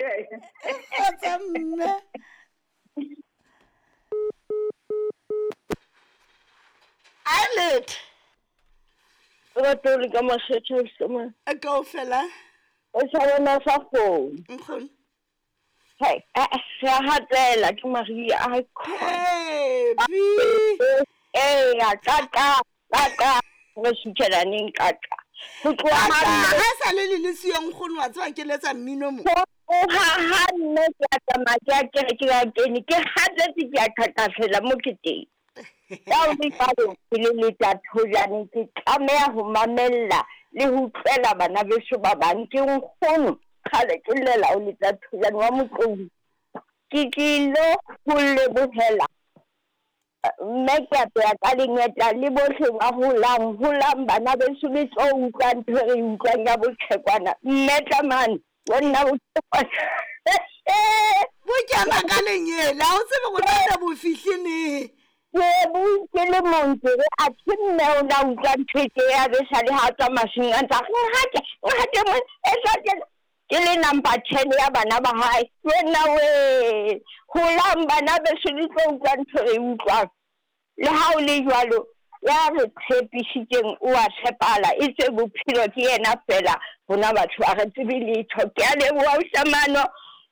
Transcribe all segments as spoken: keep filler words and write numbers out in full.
Kgotso mme. Eilert. Lerato le ka makgethe ausi. Kaofela. O sa bona sa kgomo. Nkgono. Hai, re a hatela ke Maria. Ai Happy. Eya, kaka, kaka, re suthela neng kaka. Ho tloha Ha ha ha sa le le le siyo nkgono wa tseba ke letsa mmino mo. ha ha nne ke a tsamaya ke a kere ke a kene ke hatetse ke a qhaqhasela mo ke teng. Ka ho le jwalo ke le leta thojane ke tlameha ho mamella le ho utlwela bana beso ba bang. Ke nkgono kgale ke llela ho leta thojane wa Motloung. Ke tlilo ho lebohela mme ke apeya ka lengeta le bohle ba holang holang bana beso le tlo utlwa ntho e re e utlwang ya boqhekwana. Mme tlamane wa nna boqhekwana. Bo kena ka lenyele ha o tsebe gore na bo fihle neng. Ke bue ke le mong ke re athe mme o la utlwa ntho e tje ya be sale ha tswa masimong a ntsa re ngate ngate mona e sa tjena. Ke le number ten ya bana ba hae. Wena we holang bana beso le tlo utlwa ntho e re utlwang. Le ha o le jwalo ya re tshepisitseng o a tshepahala e tswe bophelo ke yena fela rona batho ha re tsebe letho. Ke a leboha ausi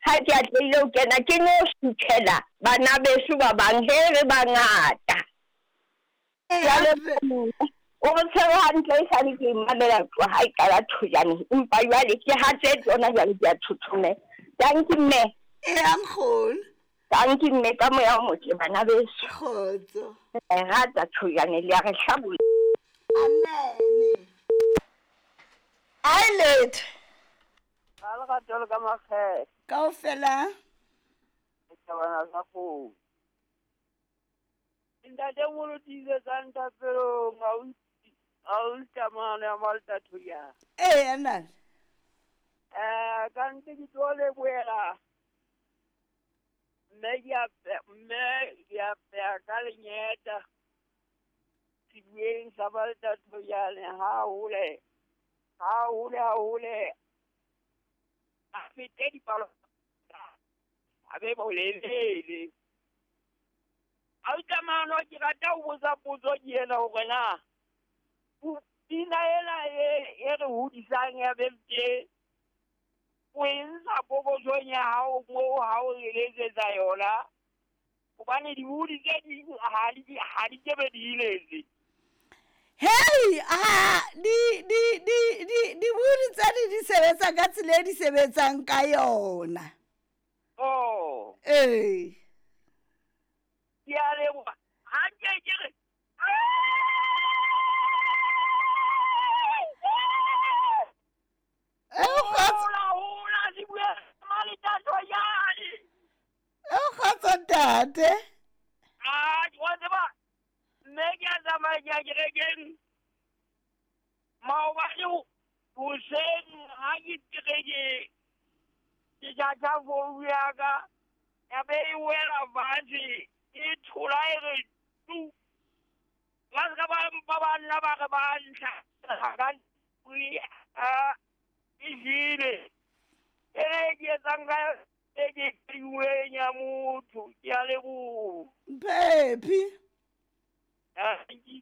ha ke atlehile ho kena ke no suthela bana beso ba bang he re bangata. Ke a leboha. O re tshwere hantle esale ke mamela tloha ha e qala thojane empa jwale ke hatsetse hona jwale ke a thothomela. Dankie mme. Eya nkgono. Dankie mme ka moya o motle bana beso. Kgotso. Re rata thojane le a re hlabolla. Amen. Eilert. Ka lerato le ka makgethe. Kaofela. Ke thabana sa kgomo. Ntate moholo tiisetsang thapelong ausi Tamane ya Malta Thoyana. Eya ntate. Eh ka ntse ke tlo lebohela mme ke a mme ke apeya ka lenyeta sebueng sa Malta Thoyana ha hole ha hole ha hole a fete dipalo a be bolelele. Ausi Tamane ke rata ho botsa potso ke ena hore na pina ena e re hodisang ya bempe o e ntsha pokothong ya hao moo ha o re letsetsa yona hobane dibodi tse ding ha di ha di kebe di iletse. Hey, ah di di di di dibodi tse di di sebetsa ka tsela e di sebetsang ka yona. Oh. Ee. Ke a leboha. Ha nke ke re Hola, hola, sebueng sa Malta Thoyane. Kgotso ntate. Ah, wa tseba mme ke a tsamaya ke ya kerekeng maobane hoseng ha ke kerekeng ke charge founu ya ka ya be e wela fatshe e thola e re tu. Ba ska ba mpa ba nna ba re ba ntlha ka a e jele. E re ke etsang ka e ke kriweng ya motho ke a leboha. Phephi. Dankie.